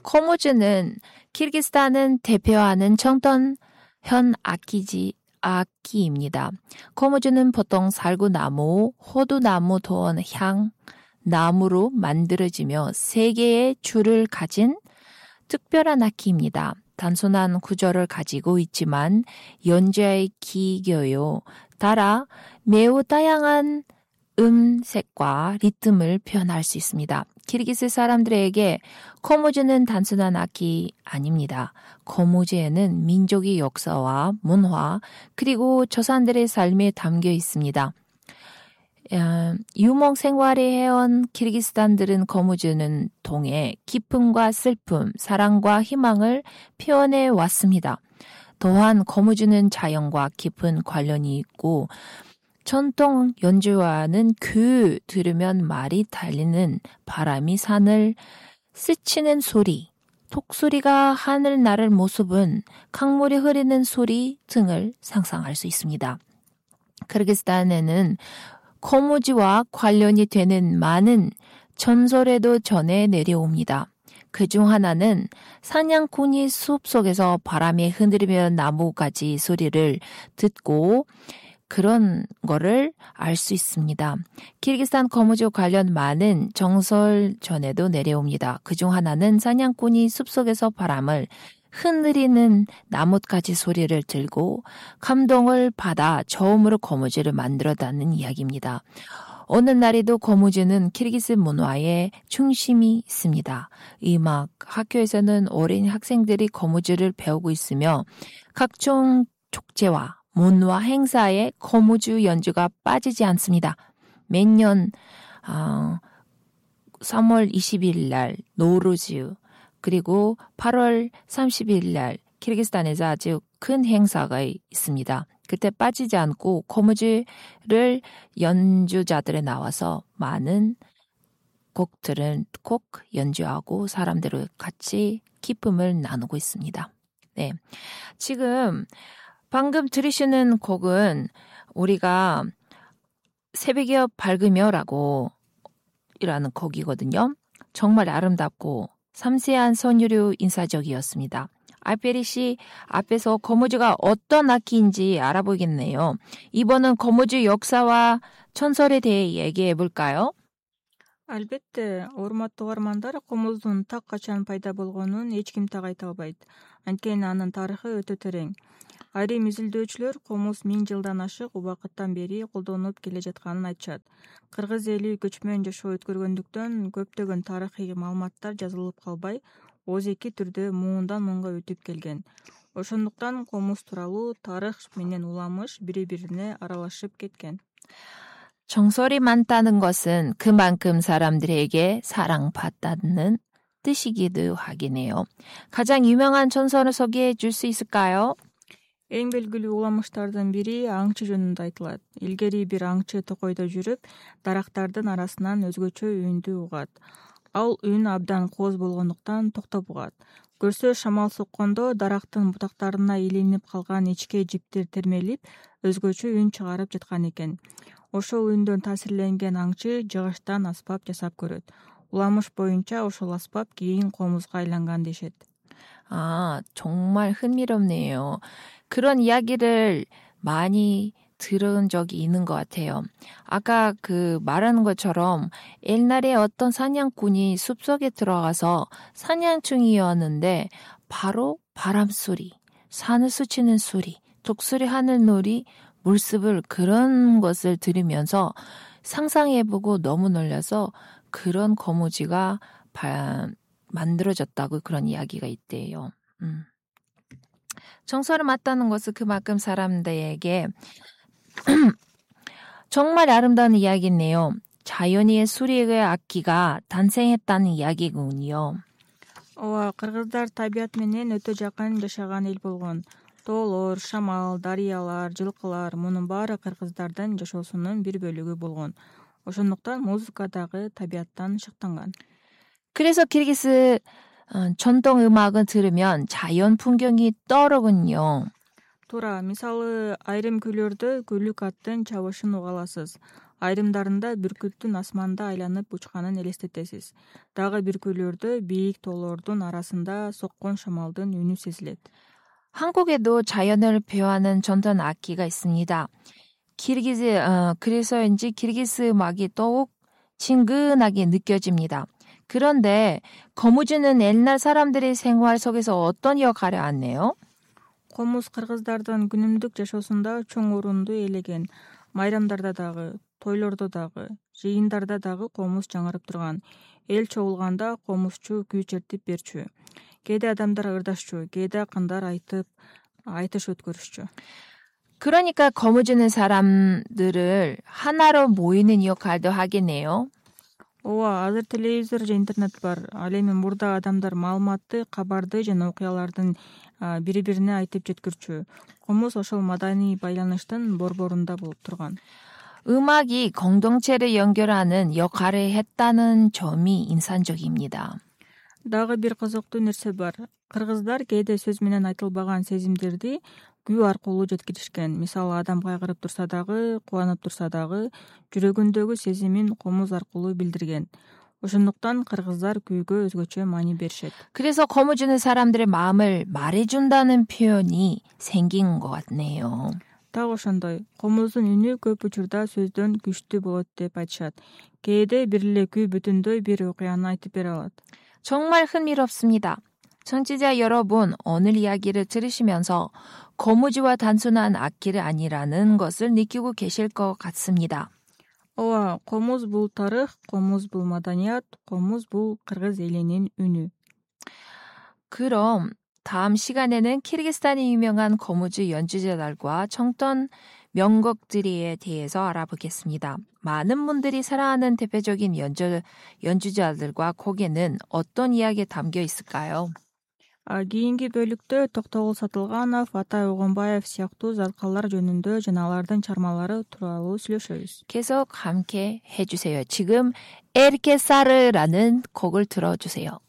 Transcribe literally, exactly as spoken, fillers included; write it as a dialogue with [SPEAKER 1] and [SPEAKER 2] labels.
[SPEAKER 1] 코무즈는 키르기스탄은 대표하는 청ton현 악기지 악기입니다. 코무즈는 보통 살구나무, 호두나무 또는 향, 나무로 만들어지며 세 개의 줄을 가진 특별한 악기입니다. 단순한 구조를 가지고 있지만 연주의 기교요 따라 매우 다양한 음색과 리듬을 표현할 수 있습니다. 키르기스 사람들에게 코무즈는 단순한 악기 아닙니다. 코무즈에는 민족의 역사와 문화 그리고 조상들의 삶에 담겨 있습니다. 유목 생활을 해온 키르기스탄들은 코무즈는 통해 기쁨과 슬픔, 사랑과 희망을 표현해 왔습니다. 또한 코무즈는 자연과 깊은 관련이 있고 전통 연주와는 그 들으면 말이 달리는 바람이 산을 스치는 소리, 독수리가 하늘 나를 모습은 강물이 흐르는 소리 등을 상상할 수 있습니다. 키르기스탄에는 코무즈와 관련이 되는 많은 전설에도 전해 내려옵니다. 그중 하나는 사냥꾼이 숲속에서 바람에 흔들리며 나무가지 소리를 듣고 그런 거를 알 수 있습니다. 키르기스탄 코무즈 관련 많은 정설 전에도 내려옵니다. 그중 하나는 사냥꾼이 숲속에서 바람을 흔들리는 나뭇가지 소리를 들고 감동을 받아 처음으로 코무즈를 만들었다는 이야기입니다. 오늘날에도 코무즈는 키르기스 문화의 중심이 있습니다. 음악 학교에서는 어린 학생들이 코무즈를 배우고 있으며 각종 축제와 문화 행사에 코무즈 연주가 빠지지 않습니다. 매년 어, 삼월 이십일 날 노루즈 그리고 팔월 삼십일 날 키르기스탄에서 아주 큰 행사가 있습니다. 그때 빠지지 않고 코무즈를 연주자들이 나와서 많은 곡들을 꼭 연주하고 사람들을 같이 기쁨을 나누고 있습니다. 네, 지금 방금 들으시는 곡은 우리가 새벽이 밝으며라고 이라는 곡이거든요. 정말 아름답고 섬세한 선율의 인사적이었습니다. 알베리 씨 앞에서 코무즈가 어떤 악기인지 알아보겠네요. 이번은 코무즈 역사와 전설에 대해 얘기해 볼까요?
[SPEAKER 2] Албетте, урматтуу угармандар, комуздун так качан пайда болгонун эч ким так айта албайт. Анткени анын тарыхы өтө терең. Айрым изилдөөчүлөр комуз миң жылдан ашык убакыттан бери колдонулуп келе жатканын айтышат. Кыргыз эли көчмөн жашоо өткөргөндүктөн көптөгөн тарыхый маалыматтар жазылып калбай, ооз-эки түрдө муундан муунга өтүп келген. Ошондуктан комуз тууралуу тарых менен уламыш бири-бирине аралашып кеткен.
[SPEAKER 1] 정설이 많다는 것은 그만큼 사람들에게 사랑받다는 뜻이기도 하겠네요. 가장 유명한 전설을 소개해 줄 수 있을까요?
[SPEAKER 2] Эң белгилүү уламыштардын бири аңчы жөнүндө айтылат. Илгери бир аңчы токойдо жүрүп, дарактардын арасынан өзгөчө үндү угат. Ал үн абдан кооз болгондуктан токтоп угат. Көрсө шамал соккондо дарактын бутактарына илинип калган ичке жиптер термелип, өзгөчө үн чыгарып жаткан экен. Ошол үндөн таасирленген аңчы жыгачтан аспап жасап көрөт. Уламыш боюнча ошол аспап кийин комузга айланган дешет.
[SPEAKER 1] 아, 정말 흥미롭네요. 그런 이야기를 많이 들은 적이 있는 것 같아요. 아까 그 말하는 것처럼 옛날에 어떤 사냥꾼이 숲속에 들어가서 사냥 중이었는데 바로 바람 소리, 산을 스치는 소리, 독수리 하늘 놀이, 물습을 그런 것을 들으면서 상상해보고 너무 놀라서 그런 거무지가 바, 만들어졌다고 그런 이야기가 있대요. 음. 정설을 맞다는 것은 그만큼 사람들에게 정말 아름다운 이야기네요. 자연의 수리의 악기가 탄생했다는 이야기군요.
[SPEAKER 2] ооба, кыргыздар табият менен өтө жакын жашаган эл болгон. Тоолор, шамал, дарыялар, жылкылар мунун баары кыргыздардын жашоосунун бир бөлүгү болгон. Ошондуктан музыка дагы табияттан шыктанган.
[SPEAKER 1] 그래서 키르기스 전통 음악을 들으면 자연 풍경이 떠오르군요.
[SPEAKER 2] Туура, мисалы айрым күйлөрдө күлүк аттын чабышын уга аласыз. Айрымдарында бүркүттүн асманда айланып учканын элестетесиз. Дагы биркөөлөрдө бийик тоолордун арасында соккон шамалдын үнү сезилет.
[SPEAKER 1] 한국에도 자연을 표하는 전통 악기가 있습니다. 키르기즈, 어, 그래서인지 키르기스 음악이 더욱 친근하게 느껴집니다. 그런데 거무주는 옛날 사람들의 생활 속에서 어떤 역할을 하네요?
[SPEAKER 2] Комуз кыргыздардын күнүмдүк жашоосунда чоң орунду ээлеген. Майрамдарда дагы, тойлордо дагы, жыйындарда дагы комуз жаңырып турган. Эл чогулганда комузчу күй чертип берчү. Кээде адамдар ырдашчу, кээде акындар айтып, айтыш өткөрүшчү.
[SPEAKER 1] 그러니까 거무주는 사람들을 하나로 모이는 역할도 하겠네요.
[SPEAKER 2] ооба, азыр телевизор же интернет бар. Ал эми мурда адамдар маалыматты, кабарды жана окуялардын бири бирине айтып жеткирчү. Комуз ошол маданий байланыштын борборунда болуп турган.
[SPEAKER 1] 음악이 공동체를 연결하는 역할을 했다는 점이 인상적입니다.
[SPEAKER 2] Дагы бир кызыктуу нерсе бар. Кыргыздар кээде сөз менен айтылбаган сезимдерди күү аркылуу жеткиришкен. Мисалы, адам кайгырып турса дагы, кубанып турса дагы жүрөгүндөгү сезимин комуз аркылуу билдирген. Ошондуктан кыргыздар күүгө өзгөчө маани беришет.
[SPEAKER 1] 그래서 거무주는 사람들의 마음을 말해준다는 표현이 생긴 것 같네요.
[SPEAKER 2] Так ошондой. Комуздун үнү көп учурда сөздөн күчтүү болот деп айтышат. Кээде бир эле күү бүтүндөй бир окуяны айтып бере алат.
[SPEAKER 1] 정말 흥미롭습니다. 청취자 여러분, 오늘 이야기를 들으시면서 거무주와 단순한 악기를 아니라는 것을 느끼고 계실 것 같습니다.
[SPEAKER 2] ооба, комуз бул тарых, комуз бул маданият, комуз бул кыргыз элинин үнү.
[SPEAKER 1] 그럼 다음 시간에는 키르기스탄이 유명한 거무주 연주자들과 청ton 명곡들에 대해서 알아보겠습니다. 많은 분들이 사랑하는 대표적인 연주, 연주자들과 곡에는 어떤 이야기가 담겨 있을까요?
[SPEAKER 2] Кийинки бөлүктө Токтогул Сатылганов, Атай Огонбаев сыяктуу заткалар жөнүндө жана алардын чармалары тууралуу сүйлөшөбүз.
[SPEAKER 1] 계속 함께 해주세요. 지금 에르케사르라는 곡을 들어주세요.